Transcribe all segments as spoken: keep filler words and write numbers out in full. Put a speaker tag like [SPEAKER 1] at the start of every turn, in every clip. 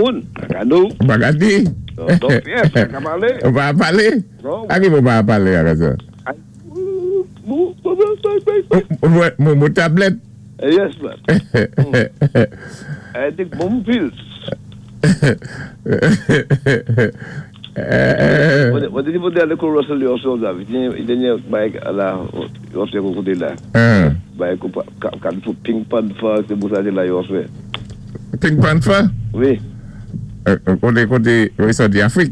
[SPEAKER 1] moun, kaka nou.
[SPEAKER 2] Pa ka di.
[SPEAKER 1] Donk, yes, pa ka palé.
[SPEAKER 2] Ou pa palé?
[SPEAKER 1] Non.
[SPEAKER 2] A ki ou pa palé avè sa?
[SPEAKER 1] Mou, mou, mou,
[SPEAKER 2] Mou, mou, mou tablèt?
[SPEAKER 1] Yes, man. I take mom pills. Mwen te di pou te ale kou Russell yo son la, i denye bay la, yo se kou kote la. Bay kou kan pou Pink Panther, se bou sa de la yo se.
[SPEAKER 2] Pink Panther?
[SPEAKER 1] Wi.
[SPEAKER 2] Koté, koté, wi, sa di Afrik?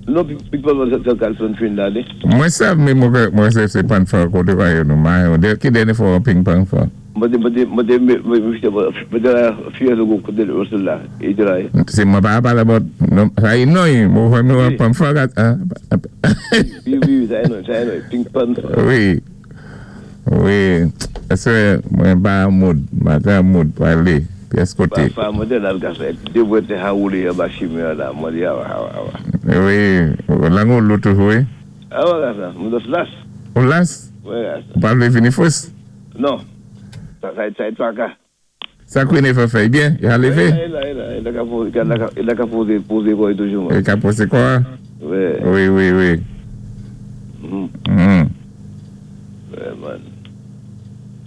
[SPEAKER 1] Non, Pink Panther se Carlson Trinidad.
[SPEAKER 2] Mwen sav, mwen mwen se se Panther koté kwa yo nou, ma, ki denye fò Pink Panther?
[SPEAKER 1] Mwen te, mwen te, mwen te, mwen te la fiye zo kote Russell la, e te la.
[SPEAKER 2] Se mwen pa pale about, non, sa yi noy, mwen fè mwen Panther kat,
[SPEAKER 1] Wi, wi, sa yi noy, sa yi noy, Pink Panther.
[SPEAKER 2] Wi, wi, ese mwen ba moud, mwen ba moud pou ale, pyès koté.
[SPEAKER 1] Fa mwen te la gasa, de mwen te haoule ya ba chimè la, mwen di awa, awa, awa.
[SPEAKER 2] Wi, lango loutou wi?
[SPEAKER 1] Awa gasa, mwen dos las.
[SPEAKER 2] Ou las?
[SPEAKER 1] Wi gasa.
[SPEAKER 2] Ou pa vle vini fos?
[SPEAKER 1] Non. Sa sa yi twaka.
[SPEAKER 2] Sa kwen e fè fè bien? Y a leve?
[SPEAKER 1] Il a, il a, il a ka pose, il a ka pose, pose kwa toujou.
[SPEAKER 2] Il ka pose kwa?
[SPEAKER 1] Wi.
[SPEAKER 2] Wi, wi, wi.
[SPEAKER 1] Mm.
[SPEAKER 2] Mm.
[SPEAKER 1] Wi, man.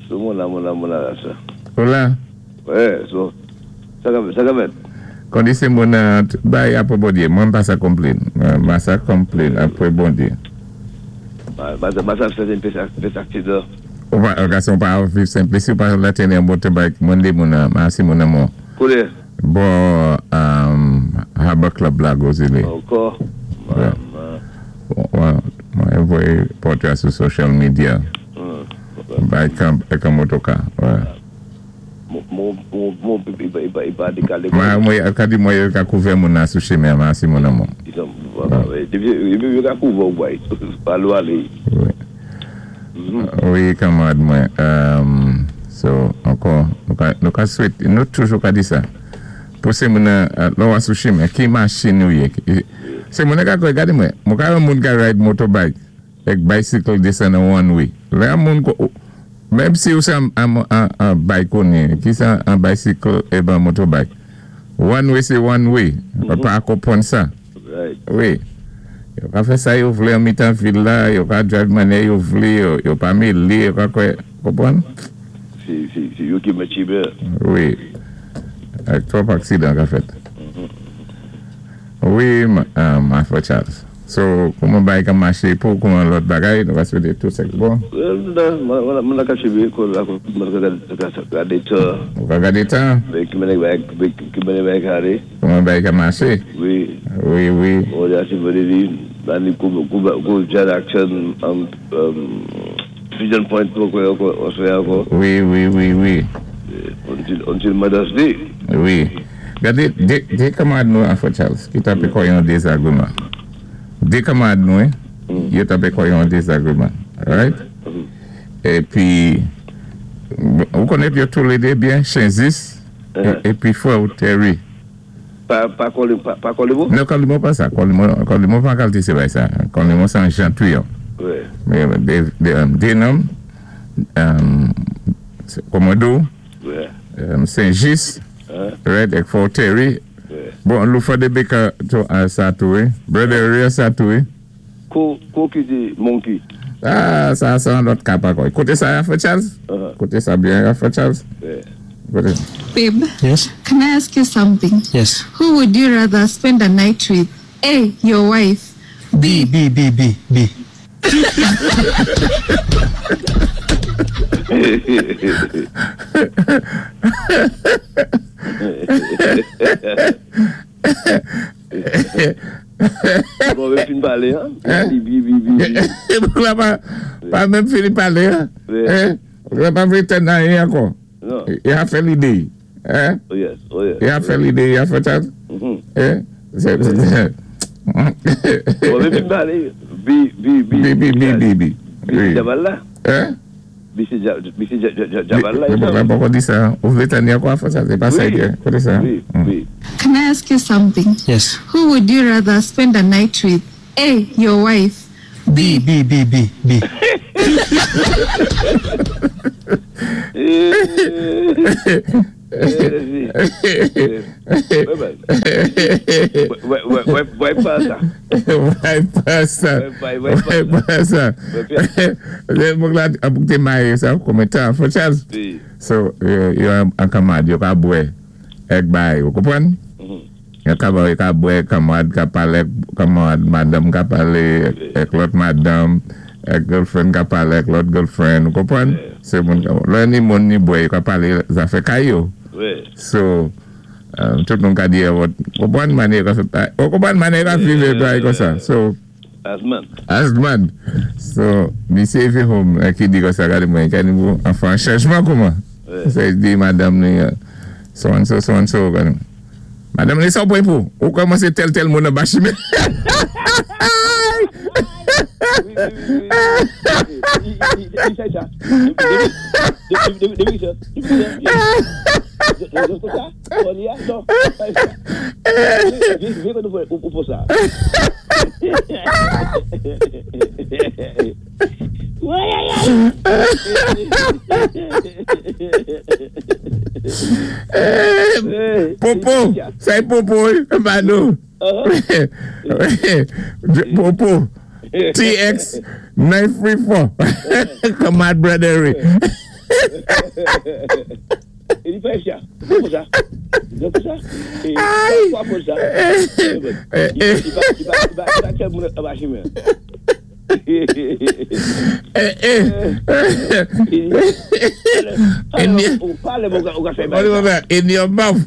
[SPEAKER 1] So moun la, moun la, moun la la sa.
[SPEAKER 2] Ou la?
[SPEAKER 1] Wi, so, sa ka, sa ka met.
[SPEAKER 2] Kondi se moun bay apò bon Dié, mwen pa sa complain. Mwen sa complain apò bon Dié.
[SPEAKER 1] Ba, ba, ba sa fè sen pes aksidan.
[SPEAKER 2] Ou pa, gason pa viv simple, si ou pa la tene an motorbike, mwen de moun an, ma si moun an moun.
[SPEAKER 1] Koule?
[SPEAKER 2] Bon, um, Harbor Club la Gozile.
[SPEAKER 1] Ankò?
[SPEAKER 2] Mwen, mwen voye pòtrè sou social media. Bay kan, ek an motoka, wè.
[SPEAKER 1] Moun, moun, moun, i pa, i pa dekale.
[SPEAKER 2] Mwen, mwen, ka di mwen ka kouve moun nan sou cheme, ma si moun an moun.
[SPEAKER 1] Depi yo ka kouve ou bay, pa lwa li.
[SPEAKER 2] Wi. Wi, kamarad mwen. So, ankò, nou ka swet, nou toujou ka di sa. Pou se moun nan, lò wè sou cheme, ki machin nou ye. Se moun nan ka kwe, gade mwen, mwen ka yon moun ka ride motorbike, ek bicycle desen an one way. Lè an moun ko, mèm si ou se an, an, an bike konen, ki sa an bicycle e ban motorbike. One way se one way, mm-hmm. Pa akopon sa.
[SPEAKER 1] Right.
[SPEAKER 2] Wi. Yo ka fè sa yo vle an mitan vil la, yo ka drive mane yo vle, yo, yo pa mele, yo ka kwe, kopon?
[SPEAKER 1] Si, si, si yo ki mè chibe.
[SPEAKER 2] Wi. Ak trop aksidan ka fèt. Wi, ma fò Charles. So, kouman bay ka mache pou kouman lòt bagay, nou va swete tout sek bon?
[SPEAKER 1] Mwen la ka chibe, kon la mwen ka gade tan.
[SPEAKER 2] Ou ka gade tan?
[SPEAKER 1] Ki mene bay ka ale.
[SPEAKER 2] Kouman bay ka mache?
[SPEAKER 1] Wi.
[SPEAKER 2] Wi, wi.
[SPEAKER 1] Mwen ya si vene di, bani kou, kou, kou jan action, Pigeon Point pou kwe oswe anko.
[SPEAKER 2] Wi, wi, wi, wi.
[SPEAKER 1] Until, until Mother's Day.
[SPEAKER 2] Wi. Gade, de, de kamarad nou an fò Charles, ki tape kwa yon désagrément. De kamarad nou, eh, yo tape kwa yon désagrément. Right? E pi, ou konet yo tou le de bien, Chenzis, e pi fò ou Terry.
[SPEAKER 1] Pa, pa kole, pa, pa kole mou?
[SPEAKER 2] Non, kole mou pa sa. Kole mou, kole mou pa kalte se bay sa. Kole mou san jantou yo.
[SPEAKER 1] Oui.
[SPEAKER 2] Mais, de, de, de nom, um, Komodo,
[SPEAKER 1] Oui.
[SPEAKER 2] um, Saint-Just, right, ek fò Terry.
[SPEAKER 1] Oui.
[SPEAKER 2] Bon, lou fò de beka to, uh, sa tou, eh? Brother Ria sa tou, eh?
[SPEAKER 1] Ko, ko ki di monkey?
[SPEAKER 2] Ah, sa, sa an lot kapa koy. Kote sa ya fò Charles?
[SPEAKER 1] Uh-huh.
[SPEAKER 2] Kote sa bien ya fò Charles?
[SPEAKER 1] Oui.
[SPEAKER 2] Kote.
[SPEAKER 3] Babe,
[SPEAKER 4] Yes.
[SPEAKER 3] can I ask you something?
[SPEAKER 4] Yes.
[SPEAKER 3] Who would you rather spend a night with? A, your wife.
[SPEAKER 4] B, B, B, B, B.
[SPEAKER 1] Bon, même fin parler, hein? B, B, B, B, B.
[SPEAKER 2] Bon, là, pas, pas même fini parler, hein?
[SPEAKER 1] Oui.
[SPEAKER 2] Hein? On pas vrai tenir rien encore.
[SPEAKER 1] Non.
[SPEAKER 2] Il a fait l'idée. Hein?
[SPEAKER 1] Oh yes, oh yes.
[SPEAKER 2] Il a fait l'idée, il a fait ça.
[SPEAKER 1] Mm-hmm.
[SPEAKER 2] Hein? C'est, c'est,
[SPEAKER 1] Bon, même fin parler. B, B, B.
[SPEAKER 2] B, B, B, B, B.
[SPEAKER 1] B,
[SPEAKER 2] Oui.
[SPEAKER 1] Jabal là?
[SPEAKER 2] Hein?
[SPEAKER 1] B, c'est Ja-, B, c'est Ja-, Ja-, Jabal là,
[SPEAKER 2] Mais
[SPEAKER 1] il
[SPEAKER 2] bon,
[SPEAKER 1] a-
[SPEAKER 2] pourquoi on dit ça? Vous voulez tenir quoi? Ça, c'est pas ça,
[SPEAKER 1] Oui.
[SPEAKER 2] hein? Quoi ça?
[SPEAKER 1] Oui,
[SPEAKER 2] Mm.
[SPEAKER 1] oui.
[SPEAKER 3] Can I ask you something?
[SPEAKER 4] Yes.
[SPEAKER 3] Who would you rather spend a night with? A, your wife.
[SPEAKER 4] B, B, B, B, B.
[SPEAKER 1] Ouais, pas ça.
[SPEAKER 2] Ouais, pas ça. Ouais, pas ça. Lè moun la a boukte maye sa, kome tan, fò Charles. So, yo an kamad, yo ka bwe, ek bay, ou konpwann? Yo ka bwe, kamad ka pale, kamad, madam ka pale, ek lòt madam, ek girlfriend ka pale, ek lòt girlfriend, ou konpwann? Se moun, lè ni moun ni bwe, yo ka pale zafè kay yo. So, tout moun ka diye, ou konpwann manye ka fe, ou konpwann manye ka vive bay kon sa. So,
[SPEAKER 1] Asman.
[SPEAKER 2] Asman. So, misye fi home, ki di kon sa gade mwen, kani mou, anfan, chanjman kouman. Se di madam ni, so and so, so and so, gade mwen. Madam ni sa ou pwen pou, ou komanse tel tel moun an bachime.
[SPEAKER 1] Oui, oui, oui, oui. Il fait ça. Depuis ça. Depuis ça. Non. Viens nous pour ça.
[SPEAKER 2] Popo, c'est Popo, Mano. Popo. T X nine three four. Come on, brother.
[SPEAKER 1] Il fait ça. Pour ça. Pour ça. Pour ça. Il va il va il va
[SPEAKER 2] Eh eh. In your mouth.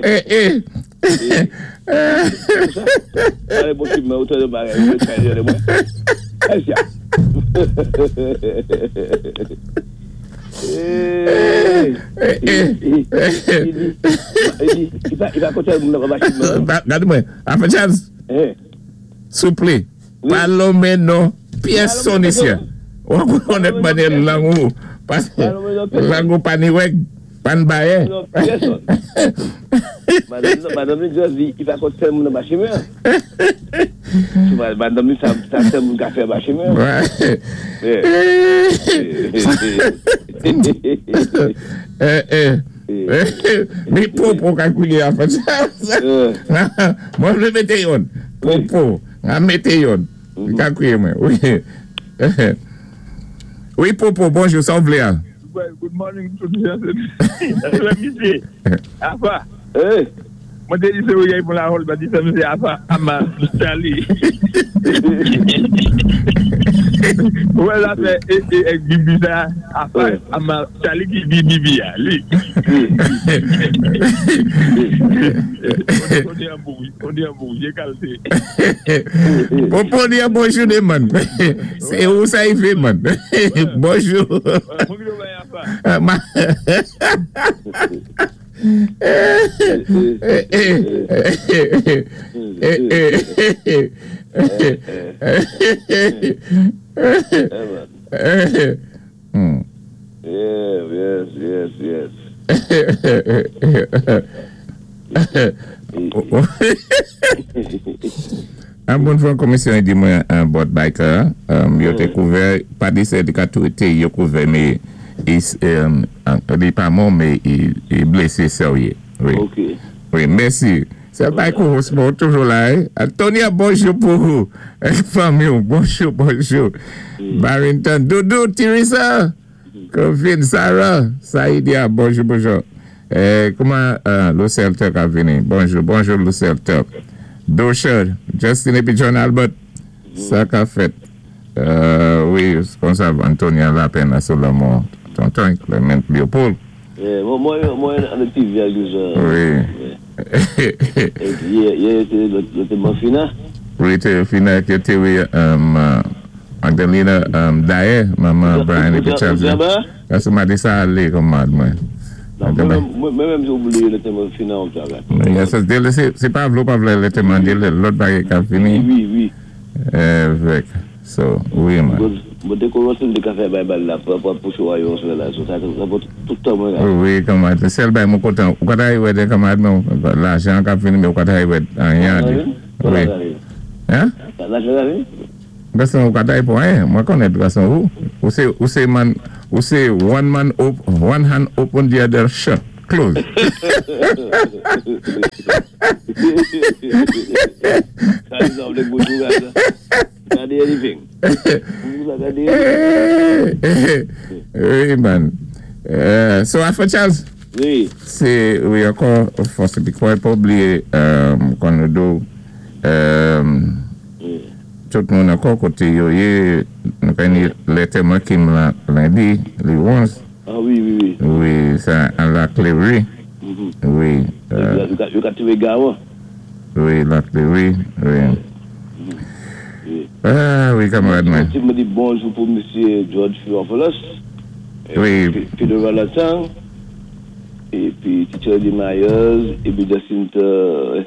[SPEAKER 2] Eh eh. Souple, palome non, personne ici. On connaît pas de langue, parce que langue pas ni wek, pas ni baye.
[SPEAKER 1] Madame dit, il va compter mon bâtiment. Madame, ça ça mon café bâtiment.
[SPEAKER 2] Ouais. Eh eh. Mais pour calculer en fait. Moi je mette yon. Pour pour mette yon. Calculer moi. Oui. Oui Popo, bonjour, ça vous plaît.
[SPEAKER 5] Good morning tout le monde. Afa.
[SPEAKER 1] Eh.
[SPEAKER 5] Moi je dis c'est pour la hall, bah dis c'est Afa Ama Charlie. Ouais là c'est et bibi ça Afa Ama Charlie qui bibi lui. On dit un bon, on dit un bon, j'ai calcé.
[SPEAKER 2] Popo dit bonjour des man. C'est où ça il fait man. Bonjour. Eh eh eh eh eh eh.
[SPEAKER 1] Yes, yes, yes.
[SPEAKER 2] Un bon fois commission dit moi un board biker, il était couvert pas des syndicats tout été il couvert mais il il pas mort mais il est blessé sérieux. Oui.
[SPEAKER 1] OK.
[SPEAKER 2] Oui, merci. C'est pas cool, toujours là. Antonia, bonjour pour vous. Famille, bonjour, bonjour. Barrington, Doudou, Teresa, Kevin, Sarah, Saïdia, bonjour, bonjour. Eh, comment euh, Lucille Turk a venu? Bonjour, bonjour, Lucille Turk. Dosher, Justin et John Albert, ça qu'a fait. Euh, oui, comme ça, Antonia Lapin, sur la mort. Tonton, Clément Léopold.
[SPEAKER 1] Eh, moi, moi, moi, un petit virgule.
[SPEAKER 2] Oui.
[SPEAKER 1] Et puis, il y a été le témoin final.
[SPEAKER 2] Oui, le final qui était, oui, Magdalena Daye, maman Brian et Charles. Ça, m'a dit ça, allez, comme moi.
[SPEAKER 1] Moi-même, j'ai oublié le témoin final.
[SPEAKER 2] C'est pas vrai, pas vrai, le témoin, l'autre bague qui a fini.
[SPEAKER 1] Oui, oui.
[SPEAKER 2] Avec. So, oui, man.
[SPEAKER 1] Moi, dès qu'on rentre le café, là, pour pour là, ça tout le temps.
[SPEAKER 2] Oui, camarade. C'est le bail, mon content. Ou quand il y a camarade, l'argent qui a fini, mais quand il y a rien. Oui. Hein?
[SPEAKER 1] L'argent
[SPEAKER 2] Garçon, ou quand il pour rien, moi connais garçon où? Ou c'est ou c'est man Ou sé one man op, one hand open, the other shut, close. Oui, man. Euh, so, Alpha Charles.
[SPEAKER 1] Oui.
[SPEAKER 2] Sé, wi, ankò, fòs épi kwa pa oubliyé, euh, kon nou do, euh, tout moun ankò koté yo yé, nou ka ni lè Kim la lendi, le onz.
[SPEAKER 1] Ah oui, oui, oui.
[SPEAKER 2] Wi, sa, an la Cléry.
[SPEAKER 1] Mm-hmm.
[SPEAKER 2] Wi.
[SPEAKER 1] Euh, yo ka tiwé gawan.
[SPEAKER 2] Wi, la Cléry, wi.
[SPEAKER 1] Mm-hmm. Oui.
[SPEAKER 2] Ah oui, kanmarad mwen.
[SPEAKER 1] Ti mwen di bonjou pou Mesye George Firopoulos.
[SPEAKER 2] Wi.
[SPEAKER 1] Peter Valentin. Épi Teacher Myers, épi Jacinta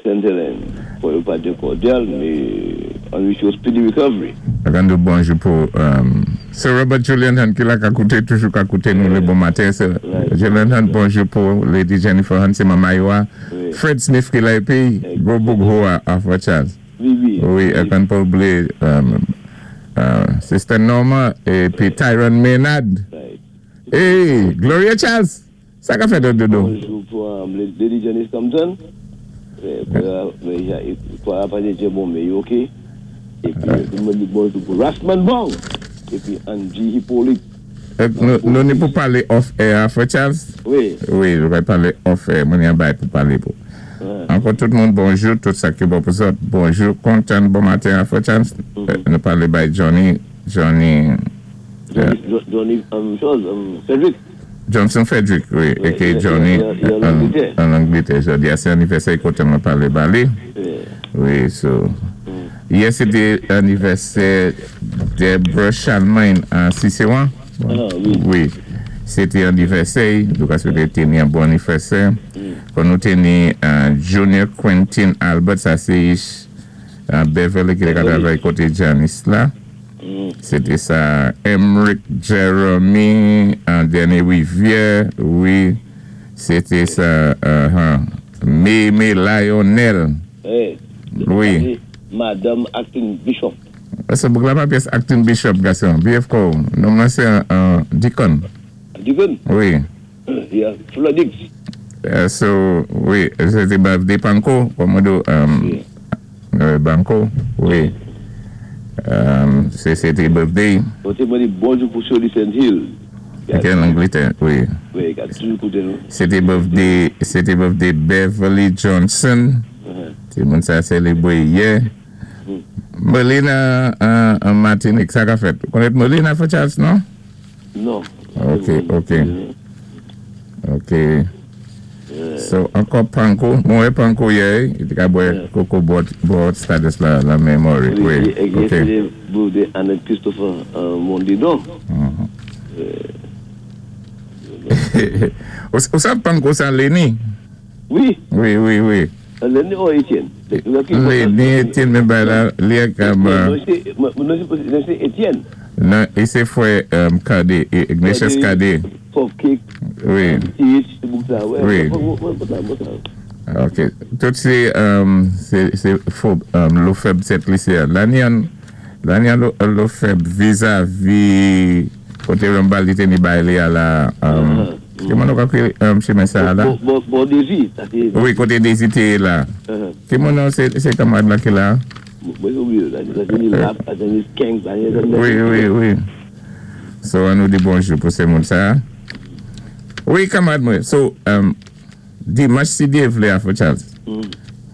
[SPEAKER 1] Saint-Hélène. Pour ne pas dire cordial, mais on wish you speedy recovery.
[SPEAKER 2] An bonjou pou um, Sir Robert Julian Hunt ki la ka kouté, toujou ka kouté nou lé bon maten. Sir
[SPEAKER 1] Right.
[SPEAKER 2] Julian Hunt, bonjou pou Lady Jennifer Hunt, sé manman yo.
[SPEAKER 1] Wi.
[SPEAKER 2] Fred Smith ki la épi, gwo boug ho a Alpha Charles.
[SPEAKER 1] Wi, wi.
[SPEAKER 2] Wi, é kan pa oubliyé um, uh, Sister Norma épi Tyrone Maynard.
[SPEAKER 1] Right.
[SPEAKER 2] Hey, Gloria Charles. Sa ka fèt dodo?
[SPEAKER 1] Bonjou pou um, Lady Janice Thompson. Pour la pas dire bon, mais ok. Épi, mwen di bonjou pou Rasman Bong. Épi Angie Hippolyte.
[SPEAKER 2] Nou, nou ni pou palé off air, Alpha Charles?
[SPEAKER 1] Wi.
[SPEAKER 2] Wi, nou va palé off air, mwen yon bay pou palé pou. Ankò tout moun bonjou, tout sa ki bon pou zòt, bonjou, kontan, bon maten, Alpha Charles.
[SPEAKER 1] Mm-hmm.
[SPEAKER 2] Nou palé bay Johnny, Johnny...
[SPEAKER 1] Johnny, Johnny, um, chose, um, Frederick.
[SPEAKER 2] Johnson Frederick, wi,
[SPEAKER 1] Oui,
[SPEAKER 2] aka
[SPEAKER 1] il-
[SPEAKER 2] Johnny,
[SPEAKER 1] il- il- il en Angleterre.
[SPEAKER 2] an Angletè. Jodi a sé anivèsè, koté mwen palé ba li. Wi, so... Yè, sété anivèsè Deborah Chalmain an Cicéron.
[SPEAKER 1] Ah, wi.
[SPEAKER 2] Wi. Sété anivèsè, donk a swété tini an bon anivèsè. Kon nou tini uh, Junior Quentin Albert, sa sé uh, Beverly ki te travay koté Janice la. Sété sa Emmerich Jeremy, an Dernier Rivière, wi. Sété sa uh, huh, Meme Lionel.
[SPEAKER 1] Hey,
[SPEAKER 2] Wi.
[SPEAKER 1] Madame Acting Bishop.
[SPEAKER 2] Sa boug la pa pyès acting bishop, gason. B F K. Nonm nan sé an deacon.
[SPEAKER 1] Deacon?
[SPEAKER 2] Wi.
[SPEAKER 1] Yeah, Floodix.
[SPEAKER 2] Uh, so, wi, sété birthday Panko, Komodo, um, euh, Banco, wi. Um, sé sété birthday.
[SPEAKER 1] Koté mwen di bonjou pou Shirley Saint Hill.
[SPEAKER 2] Ok, an Angletè, wi.
[SPEAKER 1] Wi, ka toujou kouté nou.
[SPEAKER 2] Sété birthday, sété birthday Beverly Johnson. Ti moun sa sélébwé yè. Melina an uh, Martinique, sa ka fèt. Konnèt Melina for Charles, non?
[SPEAKER 1] Non.
[SPEAKER 2] Ok, ok. Ok. So, ankò Panko, mwen wè Panko yè, i té ka bwè koko bò, bò Stades la, la Memory. Wi,
[SPEAKER 1] Wi,
[SPEAKER 2] ok.
[SPEAKER 1] sété birthday Annette Christopher uh, Mondidon.
[SPEAKER 2] Ou, ou sav Panko sa Lenny?
[SPEAKER 1] Wi.
[SPEAKER 2] Wi, wi, wi.
[SPEAKER 1] Lenny ou Etienne?
[SPEAKER 2] Lenny, Etienne, men bay la, li ak am...
[SPEAKER 1] Non, sé Etienne.
[SPEAKER 2] Non, i sé fwè um, Kade, Ignatius Kade.
[SPEAKER 1] Pop Cake.
[SPEAKER 2] Wi.
[SPEAKER 1] T H, boug sa, wè.
[SPEAKER 2] Wi. Ok. Tout sé, um, sé, sé fò, um, lo fèb Sent Lisi. Lani an, lani an lo, lo fèb vis-à-vis, koté Rambal li té ni bay li a la, um, ki moun nou ka kwi, um, chimen sa la?
[SPEAKER 1] Bon, bon, Desi.
[SPEAKER 2] Wi, koté Desi té la. Ki moun nou sé, sé kanmarad la ki la?
[SPEAKER 1] Mwen oublié, la sé ni lap, la sé ni skank, la sé ni...
[SPEAKER 2] Wi, wi, wi. So, an nou di bonjou pou sé moun sa. Wi, kanmarad mwen. So, um, dimanch si Dyé vlé a for Charles.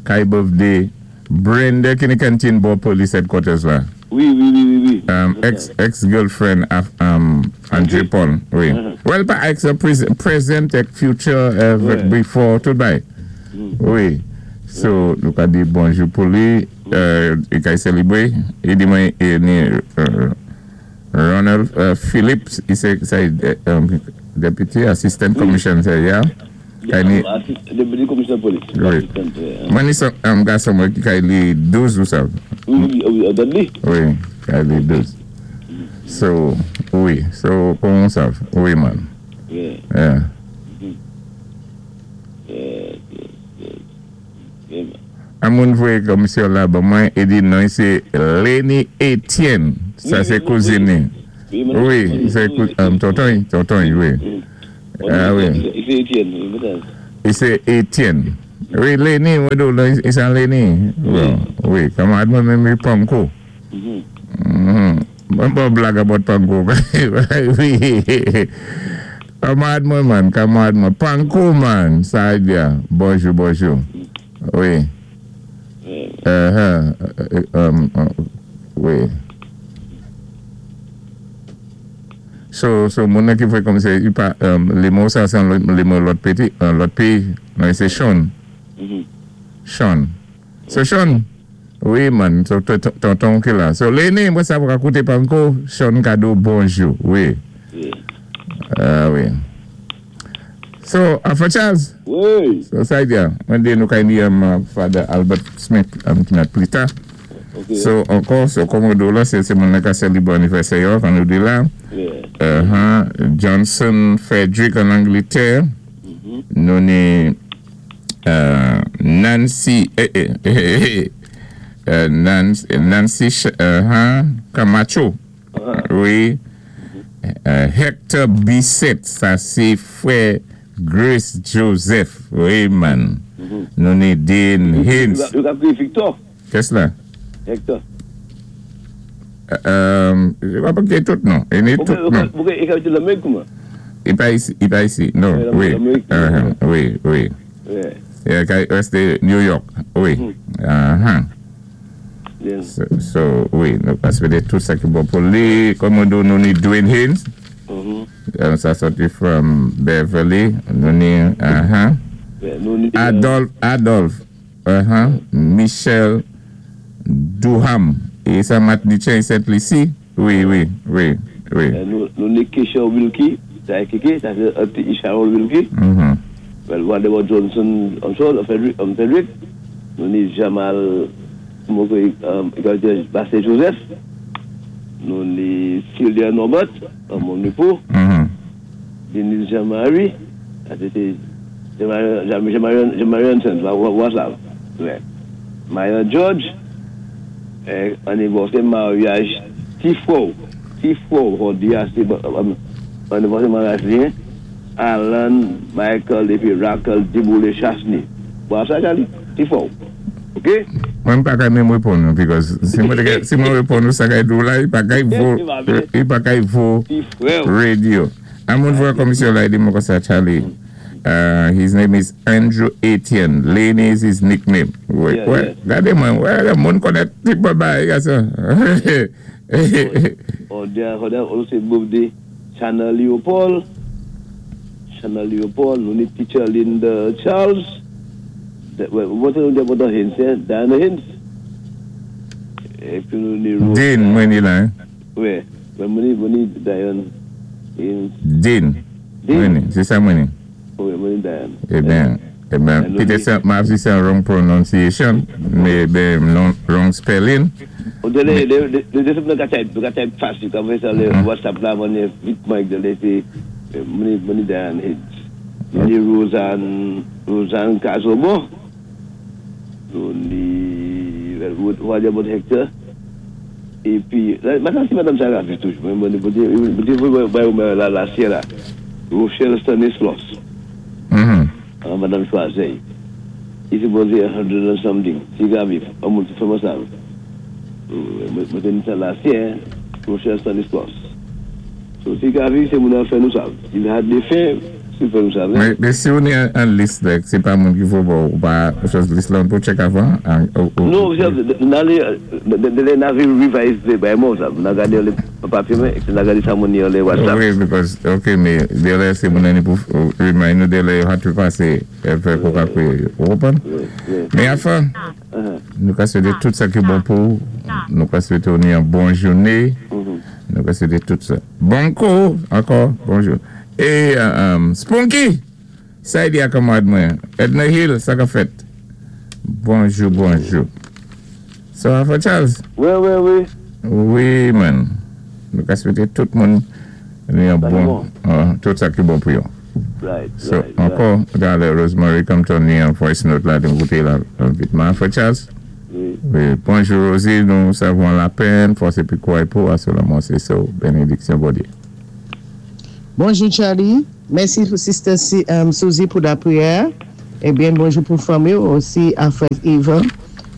[SPEAKER 2] Kay birthday Brenda ki ni kantin bò police headquarters la.
[SPEAKER 1] Wi, wi, wi, wi, wi.
[SPEAKER 2] Um, ex, ex-girlfriend of um, Andre Paul. Wi. Well, pa ex, uh, pres present, ek future, uh,
[SPEAKER 1] Ouais.
[SPEAKER 2] before, tout bay. Wi. So, nou ka di bonjou pou li, euh, i kay sélébwé. I di mwen, i ni, uh, Ronald uh, Phillips, i sé, sa, um, deputy assistant commissioner, yeah? Kay ni,
[SPEAKER 1] Deputy Commissioner Police.
[SPEAKER 2] Wi. Mwen ni son, um, gason mwen ki kay li douz ou sa.
[SPEAKER 1] Wi, wi, wi, Dudley.
[SPEAKER 2] Wi, kay li douz. So, wi, so, kon sav, wi man.
[SPEAKER 1] Yeah.
[SPEAKER 2] Yeah.
[SPEAKER 1] Yeah, yeah, yeah. Yeah, man.
[SPEAKER 2] An moun voyé komisyon la ban mwen, e di non sé Lenny Etienne. Sa
[SPEAKER 1] Wi,
[SPEAKER 2] sé
[SPEAKER 1] wi,
[SPEAKER 2] kouzin ni. Wi, sé tonton, tonton, wi. Ah wi.
[SPEAKER 1] Sé Étienne, wi,
[SPEAKER 2] I sé Étienne. Wi, Lenny, wi, sé Lenny. Wi, kanmarad mwen menm Panko. Mwen pa blag about Panko. Wi. Kanmarad mwen man, kanmarad mwen. Panko man, sa diya. Bonjou, bonjou. Wi. Uh-huh. Wi. So, so, moun ki fè kòm sé, lé mo sa sé lé mo lòt péyi, lòt péyi, non, sé Sean. Sean. So, Sean, wi man, so, tonton ki la. So, Lenny, mwen sa pou kouté Panko, Sean ka di ou bonjou, wi. Ah, wi. So, Alpha Charles?
[SPEAKER 1] Wi.
[SPEAKER 2] So, sa diya, mwen di nou kay ni Father Albert Smith, ki nat pli ta. So, ankò, so, kòm ou la, sé moun ka sélébwé anivèsè, kan nou di la. Uh-huh. Johnson Frederick an Angletè. Nou ni Nancy, eh, eh, eh, eh, Nancy, Nancy uh-huh, Camacho. Wi. Hector Bissett, sa sé frè Grace Joseph. Wi, man. Nou ni Dean Haynes.
[SPEAKER 1] Yo ka Victor?
[SPEAKER 2] Kès la?
[SPEAKER 1] Hector.
[SPEAKER 2] Euh, pa pa tout non. I tout non.
[SPEAKER 1] I ka Lamérik kouman?
[SPEAKER 2] I pa isi, i pa isi. Non, wi. Wi, wi. Yeah, résté New York. Wi. Uh-huh. So, so, wi, nou ka swété tout sa ki bon pou li. Kòm nou nou ni Dwayne Haynes. Sa sòti from Beverly. Nou ni, uh-huh. Adolphe, Adolphe. Uh-huh. Michel Duham. É sa Martiniquin, Saint Lucie? Wi, wi, wi, wi.
[SPEAKER 1] Nou ni Kesha Wilkie, sa é sa sé Sharon Wilkie.
[SPEAKER 2] Mm-hmm.
[SPEAKER 1] Well, Waldemar Johnson, I'm sorry, Frederick, um, Frederick. Nou ni Jamal, um, Bassey Joseph. Nou ni Sylvia Norbert, mon époux.
[SPEAKER 2] Mm-hmm.
[SPEAKER 1] Denise Jean-Marie, sa sé Jean-Marie Hanson, what's that? Ouais. Maya George, anivèsè maryaj Tifo, Tifo, on di sé anivèsè maryaj li, Alan, Michael, épi Rachel, Diboule, Chasny. Bon, sa, Charlie, Tifo. OK?
[SPEAKER 2] Mwen pa ka menm réponn, because si mwen si mwen réponn, sa kay dou la, i pa kay vo, i pa kay vo radio. An moun vwa komisyon la, i di mwen kon sa, Charlie. Uh, his name is Andrew Etienne. Lane is his nickname. Wi, wi. Gadé mwen, wè, moun konnèt ti bagay, sa.
[SPEAKER 1] On di, on sé birthday Chana Leopold. Chana Leopold, nou ni teacher Linda Charles. What's the name of the Hins, eh? Diana Hins. Épi nou ni
[SPEAKER 2] Dean, mwen ni la, hein?
[SPEAKER 1] Wi, mwen ni, mwen ni Diane Hins.
[SPEAKER 2] Dean. Mwen ni, sé sa mwen ni.
[SPEAKER 1] Wi, mwen ni Diane.
[SPEAKER 2] Eh ben, eh ben, petèt sa, ma si sé wrong pronunciation, mais ben, non, wrong spelling.
[SPEAKER 1] De, de, de, de, de, de, type, de type fast, you can faire le WhatsApp la, mwen vite Mike, de laisser, mwen ni, mwen ni Diane Hins. Mwen ni Roseanne, Roseanne Casobo. Nou ni, well, about Hector. Épi, maintenant, si Madame Sarah fait toujours, mwen, mwen, la, la, la, Rochelle Stanislas.
[SPEAKER 2] Mm-hmm.
[SPEAKER 1] Uh, Madame Choiseul. I supposé a hundred and something. Si gavi, an moun fè mwen sa. Mwen ten sa la sien, Rochelle Stanislas. So, si gavi, sé moun an fè nou sa. Si li had de fè, si fè nou sa.
[SPEAKER 2] Mais, mais si on est en liste, c'est pas moun ki fò ou pa chose liste là, on peut check avant?
[SPEAKER 1] Non, nan lé navi revise bay moun sa. Nan gadé lé papyé mwen, nan gadé sa moun ni lé WhatsApp.
[SPEAKER 2] Wi, because, ok, mais délai c'est moun ni pou remind nou délai yo hat pasé fè kou ka kou yo. Open? Mais enfin, nou ka swété tout sa ki bon pou, nou ka swété ou ni an bon jouné, nou ka swété tout sa. Bon kou, ankò, bonjou. É, um, Spunky, sa y di a kanmarad mwen. Edna Hill, sa ka fèt. Bonjou, bonjou. Ça va, Charles?
[SPEAKER 1] Wi, wi, wi.
[SPEAKER 2] Wi, man. Nou ka swété tout moun ni an bon, uh, tout sa ki bon pou yo.
[SPEAKER 1] Right,
[SPEAKER 2] So,
[SPEAKER 1] right,
[SPEAKER 2] ankò, gade Rosemary Compton ni an voice note la, de kouté la, vitman. Frè Charles?
[SPEAKER 1] Wi.
[SPEAKER 2] Wi, bonjou Rosie, nous avons la peine, fòs épi kouray pou sèlman sé sa, bénédiksyon Bondyé.
[SPEAKER 6] Bonjou Charlie, mèsi pou Sister Si- um, Suzy pou lapriyè. É byen bonjou pou fanmi osi a frè Yvan.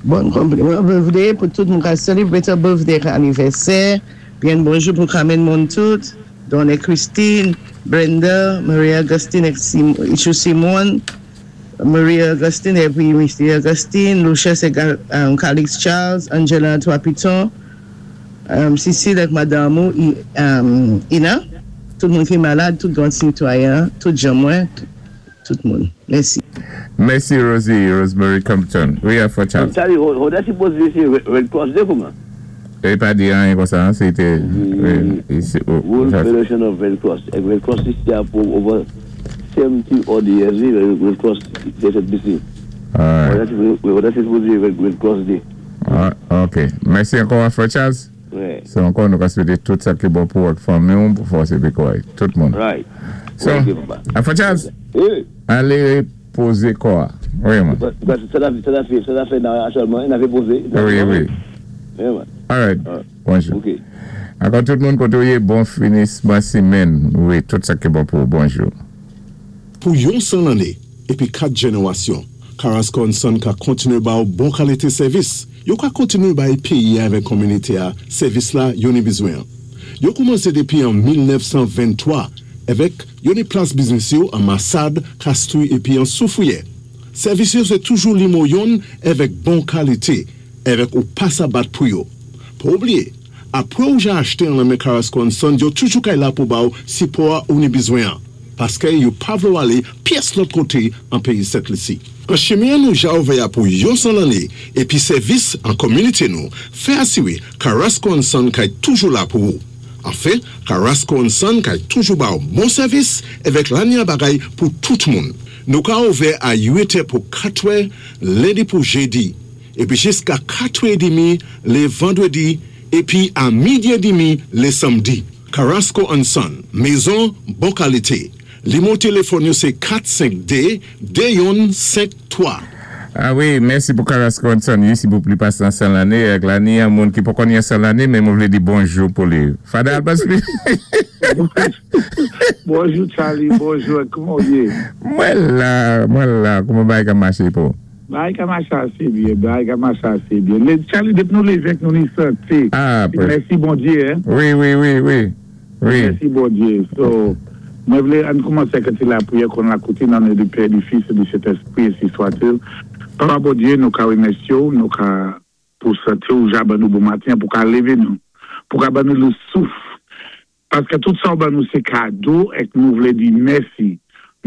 [SPEAKER 6] Bon konpliman birthday pou tout moun ki selebre birthday anivèsè. Byen bonjou pou Carmen Montout, Donne Christine, Brenda, Maria Augustine é Sim, Ichou Simone, Maria Augustine épi Mr. Augustine, Lucius é um, Calix Charles, Angela Trois-Pitons, um, Cécile avèk madanm ou, I- um, Ina, tout moun ki malad, tout gran sitwayen, tout jan mwen, tout, tout moun. Mèsi.
[SPEAKER 2] Mèsi Rosie, Rosemary Compton. Wi, frè Charles.
[SPEAKER 1] Charlie, on a sipoze sé Red Cross Day kouman?
[SPEAKER 2] É pa di anyen kon sa, sété... Wi, isi, oh,
[SPEAKER 1] World
[SPEAKER 2] ça-
[SPEAKER 1] Federation of Red Cross. É Red Cross isi a pou over seventy odd years, wi, Red Cross de
[SPEAKER 2] All right.
[SPEAKER 1] On a sipoze Red, Red Cross Day.
[SPEAKER 2] Ah, ok. Mèsi ankò, frè Charles.
[SPEAKER 1] Wi.
[SPEAKER 2] Sé ankò nou ka swété tout sa ki bon pou vòt fanmi, pou fòs épi kouray. Tout moun.
[SPEAKER 1] Right.
[SPEAKER 2] So,
[SPEAKER 1] Ok, papa.
[SPEAKER 2] ah, frè Charles,
[SPEAKER 1] Eh,
[SPEAKER 2] alé pozé kò. Wi, man.
[SPEAKER 1] paski sa l sa l fè, sa l fè nan aktyèlman, li ap pozé.
[SPEAKER 2] Wi, wi.
[SPEAKER 1] Wi, man.
[SPEAKER 2] All right.
[SPEAKER 1] All right.
[SPEAKER 2] Bonjou.
[SPEAKER 1] Ok.
[SPEAKER 2] Ankò tout moun koté ou yé, bon finisman simenn. Wi, tout sa ki bon pou bonjou.
[SPEAKER 7] Pou yon san lanné, épi kat jénéwasyon, Carrasco Son ka kontiné ba ou bon kalité sèvis. Yo ka kontiné bay péyi avèk kominité a sèvis la yo ni bizwen. Yo koumansé dépi an mil nèf san venntwa avèk yo ni plas biznis yo an Massade, Castries épi an Soufrière. Sèvis yo sé toujou nimewo youn avèk bon kalité, avèk ou pa sa bat pou yo. Pa oubliyé, apwé ou ja achté an nan men Carrasco Son, yo toujou kay la pou ba ou sipò ou ni bizwen. Paské yo pa vlé ou alé pyès lòt koté an péyi Sent Lisi. An chimen nou ja ouvè pou yon san lanné épi sèvis an kominité nou, fè asiwé Carrasco Son kay toujou la pou ou. Anfen, Carrasco Son kay toujou ba ou bon sèvis avèk lanya bagay pou tout moun. Nou ka ouvè a uit è pou kat è, lendi pou jédi, épi jiska kat è demi lé vandwédi, épi a midi é demi lé samdi. Carrasco Son, mézon bon kalité. Nimewo téléfòn yo sé kat senk dé de youn senk twa.
[SPEAKER 2] Ah wi, mèsi pou Carrasco Son, isi pou plis pasé san lanné, avèk lanné, yon moun ki pa konnen san lanné, men mwen vlé di bonjou pou li. Fada Albert
[SPEAKER 5] Bonjou Charlie, bonjou, kouman ou yé?
[SPEAKER 2] Mwen la, mwen la, kouman bagay ka maché pou?
[SPEAKER 5] Bagay ka maché asé byen, bagay ka maché asé byen. Lé, Charlie, dépi nou lévé nou ni santé.
[SPEAKER 2] Ah,
[SPEAKER 5] Mèsi Bondyé, hein?
[SPEAKER 2] Wi, wi, wi, wi. Wi.
[SPEAKER 5] Mèsi Bondyé. So, mwen vlé ann koumansé avèk lapriyè kon lakoutim nan non du Père, du Fils et du Saint-Esprit, ainsi soit-il. Papa Bondyé, nou ka wémèsyé ou, nou ka pou santé ou ja ban nou bon maten, pou ka lévé nou, pou ka ban nou lé souf. Paské tout sa ou ban nou sé kado é nou vlé di mèsi.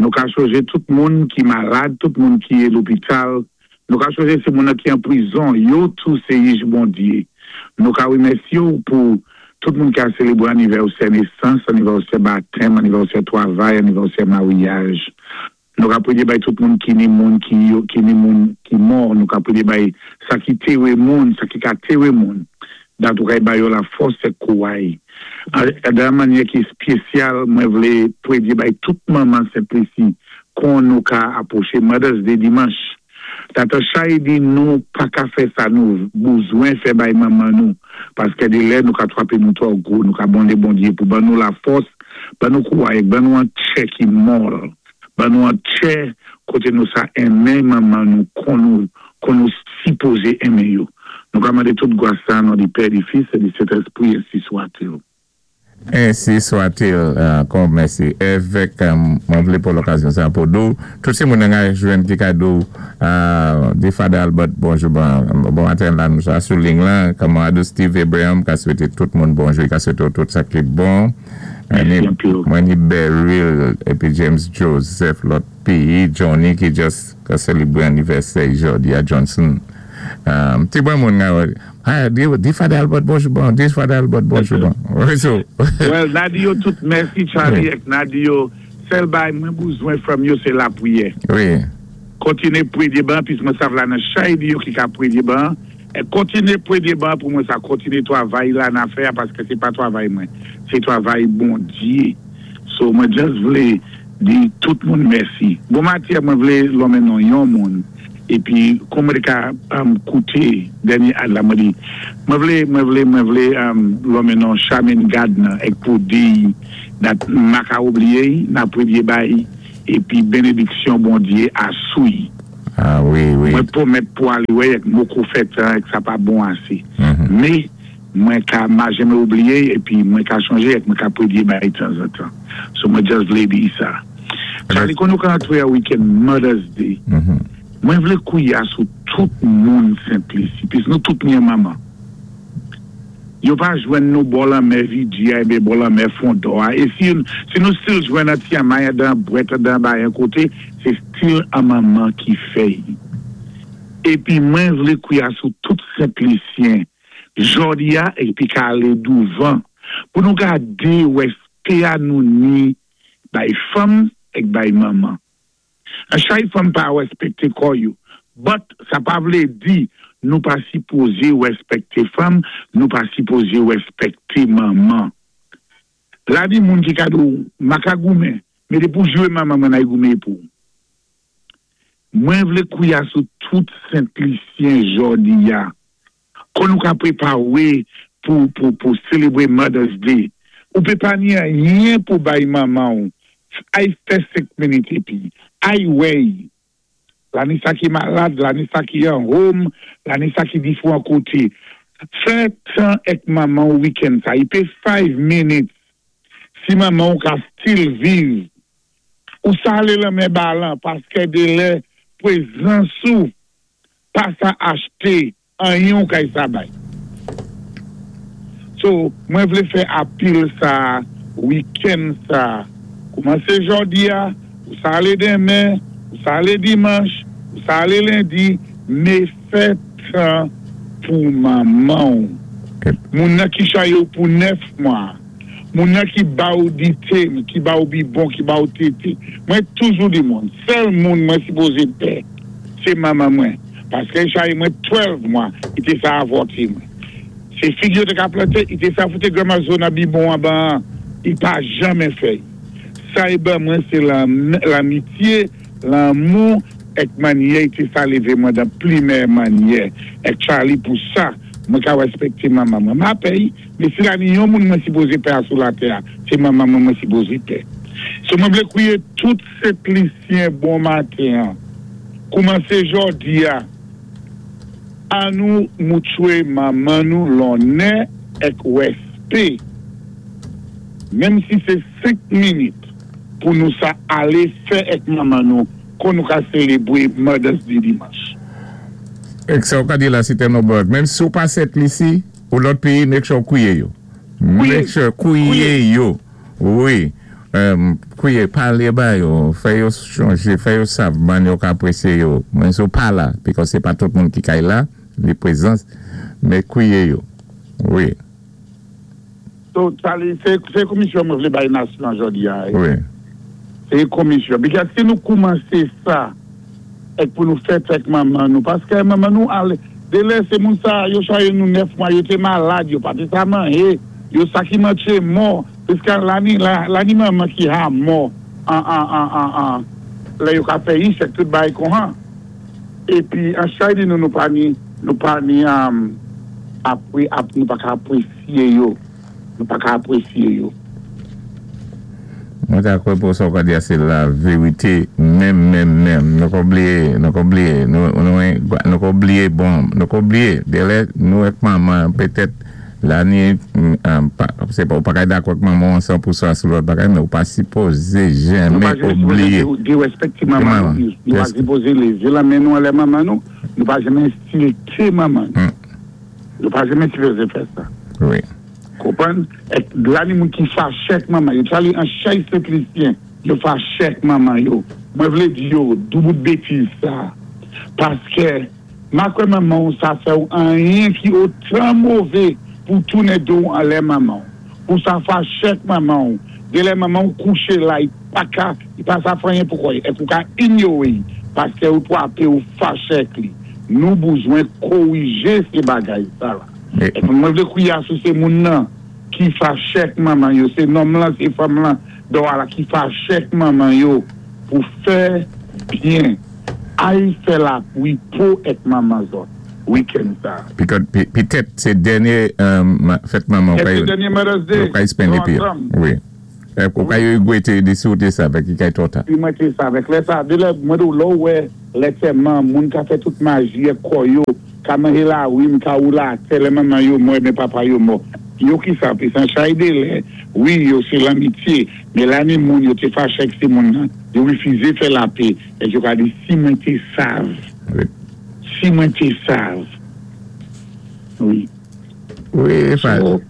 [SPEAKER 5] Nou ka chonjé tout moun ki malad, tout moun ki é lopital, nou ka chonjé sé moun ki an prizon, yo tou sé jij Bondyé. Nou ka wémèsyé ou pou tout moun ki a sélébré anivèsè nésans, anivèsè batèm, anivèsè twavay, anivèsè maryaj. Nou ka pwédyé bay tout moun ki ni moun ki yo, ki ni moun ki mò, nou ka pwédyé bay sa ki téwé moun, sa ki ka téwé moun. Dat ou kay bay yo la fòs é kouray. Dan mannyè ki spésyal, mwen vlé pwédyé bay tout manman Sent Lisi kon nou ka apwoché Mother's Day dimanch. Tata Chay di nou pa ka fè sa nou bizwen fè bay manman nou. Paské dé lè nou ka twapé nou twò gwo, nou ka mandé Bondyé pou ban nou la fòs, ban nou kouray, ban nou an tchè ki mòl, ban nou an tchè koté nou sa enmen manman nou kon nou, kon nou sipozé enmen yo. Nou ka mandé tout gwas sa nan du Père, du Fils et du Saint-Esprit, ainsi soit-il.
[SPEAKER 2] Ainsi soit-il, ankò mèsi. Évèk, mwen vlé pou lokazyon sa pou di ou, tout sé moun nan jwenn ki kado di Fada Albert bonjou, bon, bon maten la nou sa sou ling lan, kamarad Steve Abraham ka swété tout moun bonjou, ka swété tout sa ki bon. Mwen ni Beryl, épi James Joseph, lòt péyi, Johnny ki just ka sélébré anivèsè jòdi a Johnson. Ti bon moun nga, di Fada Albert bonjou bon, di Fada Albert bonjou bon.
[SPEAKER 5] Well, na di yo tout, mèsi Charlie, ek na di yo, sèl bay mwen bouzwen from yo sé lapriyè.
[SPEAKER 2] Wi.
[SPEAKER 5] Kontiné pwédyé ban, pis mwen sav la nan chay di yo ki ka pwédyé ban, é kontiné pwédyé ban pou mwen sa kontiné twavay la nan fè, paské sé pa twavay mwen, sé twavay Bondyé. So mwen just vlé di tout moun mèsi. Bon maten mwen vlé lonmen non yon moun, Épi, kon mwen ka um, kouté dènyé ad la, mwen di, mwen vlé, mwen vlé, mwen vlé, um, lonmen non Charmaine Gardner, èk pou di, dat ma ka oubliyé, na pwémyé bay, épi bénédiksyon Bondyé asou i.
[SPEAKER 2] Ah wi, wi.
[SPEAKER 5] Mwen pwomèt pou alé wè, èk moko fè tan, èk sa pa bon asé.
[SPEAKER 2] Mhm.
[SPEAKER 5] Mé, mwen ka ma janmé oubliyé, épi mwen ka chonjé, èk mwen ka pwédyé bay tanzantan. So mwen just vlé di sa. Charlie, kon nou ka antré a weekend Mother's Day,
[SPEAKER 2] Mhm.
[SPEAKER 5] mwen vlé kwiya sou tout moun Sent Lisi, pis nou tout ni manman. Yo pa jwenn nou bò lanmè Vigia, ébé bò lanmè Fondor. É si, si nou still jwenn an ti amay dan bwèt dan bay an koté, sé still an manman ki fè. Épi mwen vlé kwiya sou tout Sent Lisyen, jòdi a, épi ka alé douvan, pou nou gadé wèspé a nou ni bay fanm èk bay manman. An chay fanm pa wèspèkté kò yo. But sa pa vlé di nou pa sipozé wèspèkté fanm, nou pa sipozé wèspèkté manman. La di moun ki ka di ou, ma ka goumen, mé dé pou jwé manman mwen ay goumen pou. Mwen vlé kwiya sou tout Sent Lisyen jòdi a. Kon nou ka pwépawé pou, pou, pou sélébré Mother's Day. Ou pé pa ni anyen pou bay manman ou. Ay fè senk minit épi. Ay wèy. La ni sa ki malad, la ni sa ki an home, la ni sa ki difwan koté. Fè tan èk manman ou weekend sa. I pé five minutes. Si manman ou ka still viv. Ou sa alé lanmen ba lan, paské dé lè pwézans ou pa sa achté anyen ou kay sa bay. So, mwen vlé fè apil sa, weekend sa, koumansé jòdi a, ou sa alé denmen, ou sa alé dimanch, ou sa alé lendi, mé fè tan pou manman ou. Moun nan ki chaye ou pou nèf mwa, moun nan ki ba ou dité, ki ba ou bibon, ki ba ou tété. Mwen toujou di moun, sèl moun mwen sipozé pè, sé manman mwen. Paské chaye mwen douz mwa, i té sa avòté mwen. Sé fig yo té ka planté, i té sa fouté granma zo nan bibon an ban, i pa janmen fè. Sa i ban mwen sé l'amitye, lanmou, èk mannyè, i té sa lévé mwen dan pli mèyè mannyè. Èk Charlie pou sa, mwen ka wèspèkté manman mwen. Ma pè, mé si la ni yon moun mwen sipozé pè a sou latè, sé manman mwen mwen sipozé pè. So mwen vlé kwiye tout Sent Lisyen bon maten. Koumansé jòdi a, an nou moutwé manman nou lonnè èk wèspé. Menm si sé senk minit pou nou sa alé fè èk manman nou kon nou ka sélébré Mother's Day dimanch.
[SPEAKER 2] Èk sa ou ka di la Site Nobert, menm si ou pa Sent Lisi, ou lòt péyi, make sure kwiye yo. Make sure kwiye yo. Wi. Kwiye, palé ba yo, fè yo chonjé, fè yo sav, man yo ka apresyé yo. Menm si ou pa la, because sé pa tout moun ki kay la, li prezans, mé kwiye yo. Wi.
[SPEAKER 5] So, sé komisyon mwen vlé bay nasyon jòdi a.
[SPEAKER 2] Wi.
[SPEAKER 5] Sé komisyon. Because si nou koumansé sa, èk pou nou fè èk manman nou, paské manman nou alé, dé lè sé moun sa, yo chaye nou nèf mwa, yo té malad, yo pa té sa manyé, yo sa ki mantché mò, piska la ni, la ni manman ki ha mò, an, an, an, an, an, lè yo ka fè ish, èk tout bay kon han. Épi, an chay di nou nou pa ni, nou pa ni, apwé, ap, nou pa ka apwésyé yo. Nou pa ka apwésyé yo.
[SPEAKER 2] Mwen ta kwè pou sa ou ka di a se la vérité menm, menm, menm. Nou ka oubliyé, nou ka oubliyé, nou, nou, nou ka oubliyé, bon, nou ka oubliyé. Dé lè, nou èk manman, petèt, la ni, pa, sé pa, ou pa ka dakò ak manman san pou sa sou lòt bagay, mé ou pa sipozé
[SPEAKER 5] Nou pa
[SPEAKER 2] janmé
[SPEAKER 5] janmé
[SPEAKER 2] oubliyé.
[SPEAKER 5] sipozé dérèspèkté manman nou. Nou pa sipozé lévé lamen nou anlè manman nou, nou pa janmé ensilté manman nou. Nou pa janmé sipozé fè sa.
[SPEAKER 2] Wi.
[SPEAKER 5] Konpwann? Èk la ni moun ki faché ak manman yo. Charlie, an chay Sent Lisyen, yo faché ak manman yo. Mwen vlé di yo, doubout bétiz sa. Paské, ma kwè manman ou sa fè ou anyen ki otan mové pou tounen do anlè manman. Pou sa faché ak manman ou. Dé lè manman ou kouché la, i pa ka, i pa sa fè anyen pou kwè. Èk ou ka inyoré, paské ou twapé ou faché ak li. Nou bouzwen kowijé sé bagay sa la.
[SPEAKER 2] É.
[SPEAKER 5] Mwen vlé kwiya sou sé moun nan ki faché ak manman yo, sé nonm lan, sé fanm lan, do ala ki faché ak manman yo pou fè byen. Ay fè lapwi pou èk manman zòt, weekend sa.
[SPEAKER 2] Because pitèt sé dènyé um, fèt manman
[SPEAKER 5] É sé dènyé Mother's Day.
[SPEAKER 2] Ou kay spend
[SPEAKER 5] Nou
[SPEAKER 2] épi.
[SPEAKER 5] ansanm.
[SPEAKER 2] Wi. Ou kay wété di souwété sa avèk i kay twò ta.
[SPEAKER 5] Pi mwen té sa avèk lè sa, dé lè mwen do lò wè lè tèman, moun ka fè tout maji è kò yo, ka manje lawin, ka woulé atè, lè manman yo mò, men papa yo mò. Yo ki sa, pi san chay dé lè, wi, yo sé lanmityé, men la ni moun yo té faché ak sé moun nan, yo wifizé fè lapè, é yo ka di, si mwen té sav,
[SPEAKER 2] Wi.
[SPEAKER 5] si mwen té sav. Wi.
[SPEAKER 2] Wi, fa,
[SPEAKER 5] So,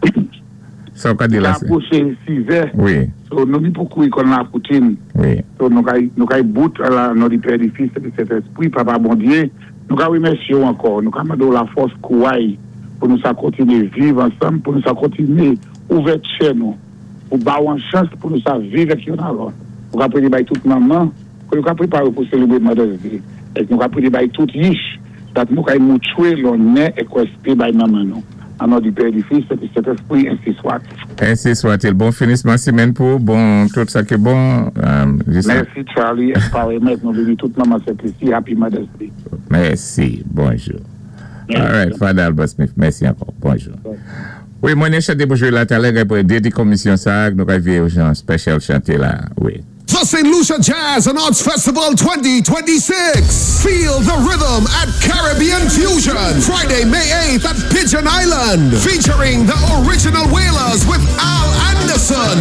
[SPEAKER 2] sa ou ka di la sé.
[SPEAKER 5] Apwoché sizè,
[SPEAKER 2] Wi,
[SPEAKER 5] so nou ni pou kouri kon lakoutin,
[SPEAKER 2] wi.
[SPEAKER 5] So, nou kay, nou kay bout an non di Pè, di Fis, é di Sentèspwi, Papa Bondyé, nou ka wimèsyé ou ankò, nou ka mandé ou lafòs kouway pou nou sa kontiné viv ansanm, pou nou sa kontiné ouvè tchè nou, pou ba ou an chans pou nou sa viv ak youn a lòt. Nou ka prédé bay tout manman, pou nou ka préparé pou sélébré Mother's Day. É nou ka prédé bay tout yich, dat nou kay moutwé lonnè é wèspè bay manman nou. An non di Pè, di Fis, é di Sentèspwi, ensi swat.
[SPEAKER 2] Ensi swat-il. Bon finisman simenn pou, bon tout sa ki bon. Um, jis-
[SPEAKER 5] Mèsi Charlie, parèymant, nou béni tout manman Sent-Lisi, Happy Mother's Day.
[SPEAKER 2] Mèsi, bonjou. All right, Father Albert Smith, mèsi ankò, bonjou. Wi, mwen ni chanté pou jwé la talè, pou dédi komisyon sa, nou kay viwé jan special chanté la, wi.
[SPEAKER 8] The St. Lucia Jazz and Arts Festival twenty twenty-six. Feel the rhythm at Caribbean Fusion. Friday, May eighth at Pigeon Island. Featuring the Original Wailers with Al Anderson.